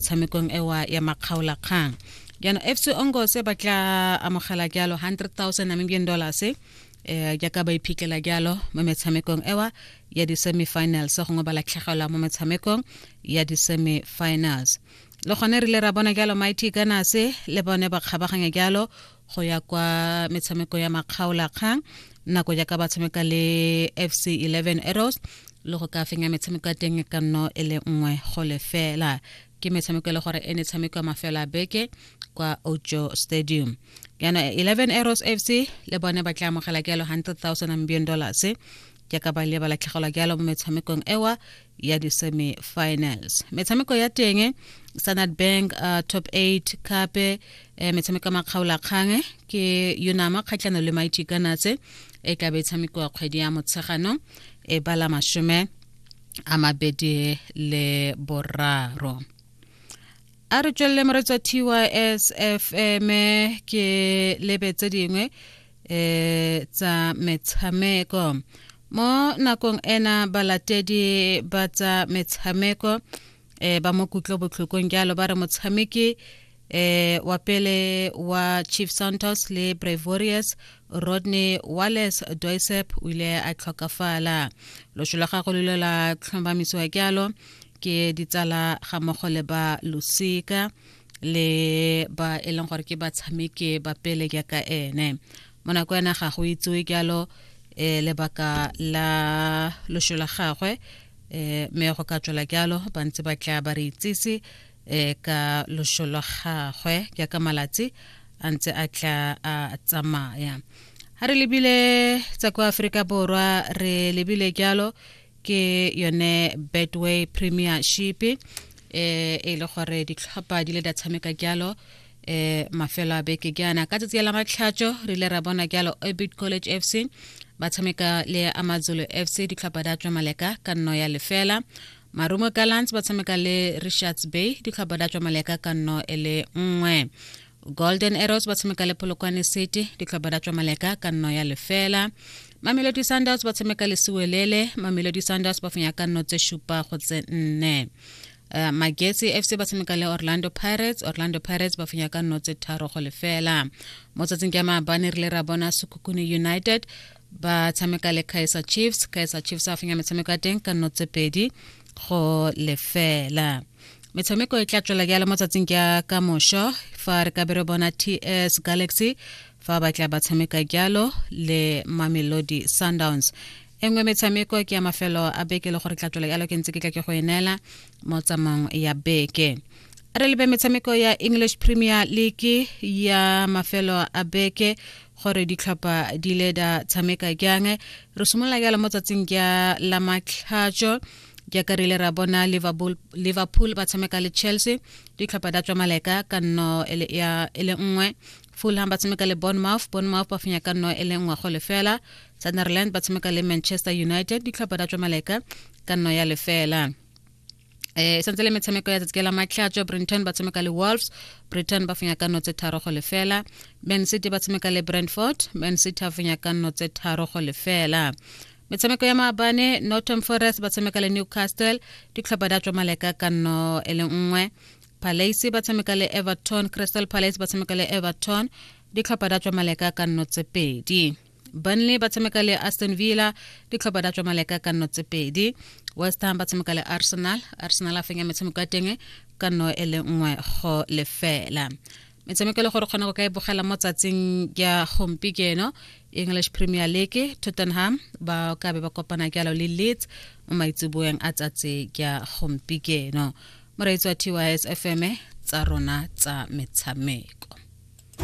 Metshamekong ewa ya makgaolakgang jaanong FC Ongose ba tla amogela jalo 100,000 Namibian dollars eh jaaka ba iphitlhela jalo mo metshamekong ewa ya di-semi-finals gongwe ba latlhegelwa mo metshamekong ya di-semi-finals. Le gone re ile ra bona jalo Mighty Gunners le bone ba kgabaganya jalo go ya kwa metshameko ya makgaolakgang nako jaaka ba tshameka le FC 11 Arrows le go ka fenya metshameko ya teng ka nno e le nngwe go lefela. Ke metshameko e le gore e ne tshameko mafelo a beke kwa Ojo Stadium. Jaanong 11 Arrows FC le bone ba tla amogela jalo 100,000 Namibian dollars jaaka ba ile ba latlhegelwa jalo mo metshamekong ewa ya di-semi-finals. Metshameko ya teng Standard Bank Top 8 Cup, metshameko ya makgaolakgang ke Unama kgatlhano le Mighty Gunners e tla be e tshamekiwa kgwedi ya Motsheganong e bala 23. A re tswelele moretsa TYS FM ke lebe tse dingwe tsa metshameko mo nakong ena. Balatedi ba tsa metshameko ba mo kutlo botlhokong jalo ba re motshameki wa pele wa Chief Santos le Brave Warriors Rodney Wallace Doisep o ile a tlhokafala. Loso la gagwe lo ile la tlhomamisiwa jalo ke ditsala ga mmogo le ba losika le ba e leng gore ke batshameki ba pele jaaka ene. Mo nako ena ga go itsewe jalo lebaka la loso la gagwe, mme go ka tswela jalo ba ntse ba tla ba re itsise ka loso la gagwe jaaka malatsi a ntse a tla a tsamaya. Ha re lebile tsa kwa Aforika Borwa, re lebile jalo ke yone Betway Premiership e le gore ditlhopha di le da tshameka jalo mafelo a beke jaana. Ka tsatsi la Matlhatso re ile ra bona jalo Orbit College FC ba tshameka le Amazulu FC, ditlhopha da tswa maleka ka nno ya 0. Marumo Gallants ba tshameka le Richards Bay, ditlhopha da tswa maleka ka nno e le 1. Golden Arrows ba tshameka le Polokwane City, ditlhopha da tswa maleka ka nno ya 0. Mamelodi Sundowns ba tshameka le Siwelele, Mamelodi Sundowns ba fenya ka nno tse 7 go tse 4. Magesi FC ba tshameka le Orlando Pirates, Orlando Pirates ba fenya ka nno tse 3 go 0. Mo tsatsing ke maabane re ile ra bona Sekhukhune United ba tshameka le Kaizer Chiefs, Kaizer Chiefs a fenya metshameko ya teng ka nno tse 2 go 0. Metshameko e tla tswela jalo mo tsatsing ke ka mošo fa re ka be re bona TS Galaxy fa ba tla ba tshameka jalo le Mamelodi Sundowns. E nngwe metshameko ke ya mafelo a beke le gore tla tswela jalo ke ntse ke tla ke go e neela mo tsamaong ya beke. Re lebe metshameko ya English Premier League ya mafelo a beke gore ditlhopha di ile da tshameka jang. Re simolola jalo mo tsatsing ja la Matlhatso jaaka re ile ra bona Liverpool ba tshameka le Chelsea, ditlhopha da tswa maleka ka nno e le 1. Fulham ba tshameka le Bournemouth, Bournemouth ba fenya ka nno e le 1 go 0. Sunderland ba tshameka le Manchester United, ditlhopha da tswa maleka ka nno ya 0. Santse le metshameko ya tsatsi la Matlhatso, Brenton ba tshameka le Wolves, Britain ba fenya ka nno tse 3 go 0. Man City ba tshameka le Brentford, Man City a fenya ka nno tse 3 go 0. Metshameko ya maabane, Nottingham Forest ba tshameka le Newcastle, ditlhopha di a tswa maleka ka nno e le 1. Palace ba tshameka le Everton, Crystal Palace ba tshameka le Everton, ditlhopha di a tswa maleka ka nno tse 2. Burnley ba tshameka le Aston Villa, ditlhopha di a tswa maleka ka nno tse 2. West Ham ba tshameka le Arsenal, Arsenal a fenya metshameko ya teng ka nno e le 1 go 0. Metshameko e le gore kgona go ka e bogela mo tsatsing ya gompieno, English Premier League, Tottenham ba ka be ba kopana jalo le Leeds mo maitseboeng a tsatsi ya gompieno. Moreetsi wa TYS FM, tsa rona tsa metshameko.